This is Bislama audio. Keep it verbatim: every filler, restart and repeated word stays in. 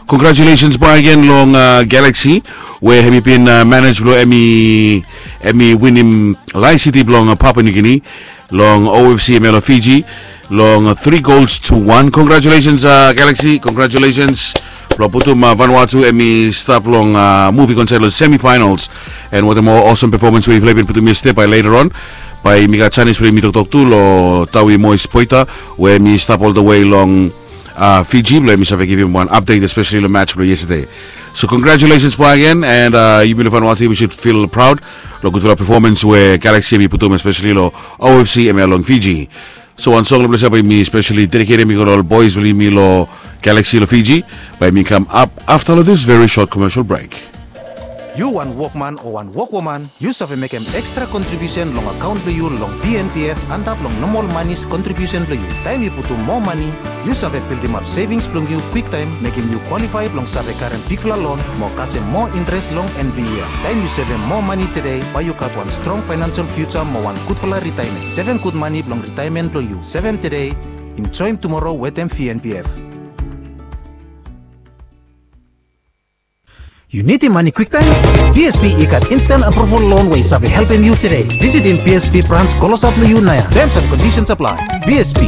Congratulations bagen long Galaxy we hemi bin manej blong hemi winim Lion City blong Papua New Guinea long O F C hemia long Fiji long three goals to one. Congratulations Galaxy, congratulations blong putum Vanuatu hemi stap long muvi konsep long semifinals. And watem ol awesome performance we yufala i bin putum yestede, bae later on bae yumi gat janis blong yumi toktok tu long Tawi Mois Poita we hemi stap ol the way long Fiji blong yumi save givim wan update especially long match blong yestede. So congratulations bagen, and yumi long Vanuatu yumi should feel proud long gudfala performance we Galaxy hemi putum especially long O F C hemia long Fiji. So wan song long ples ia bae yumi specially dediketem i go long ol boys blong yumi long Galaxy long Fiji. Bae yumi kam ap afta long this very short commercial break. Yu wan wokman o wan wokwoman, yu save mekem ekstra kontribiusen long akaon blong yu long V N P F antap long nomol manis kontribiusen blong yu. Taem yu putum moa mani, yu save bildimap sevings blong yu kwiktaem, mekem yu kwalifae blong save karem bigfala lon mo kasem moa interes long en blong yia. Taem yu sevem moa mani tede, bae yu gat wan strong faenansel fiuja mo wan gudfala ritaemen. Sevem gud mani blong ritaemen blong yu. Sevem tede, enjoem tumoro wetem V N P F. Yu nidim mani kwiktaem? B S P i gat instant approval loan we i save helpem yu tede. Visitim B S P brans klosap long yu naoia. Terms and conditions apply. B S P,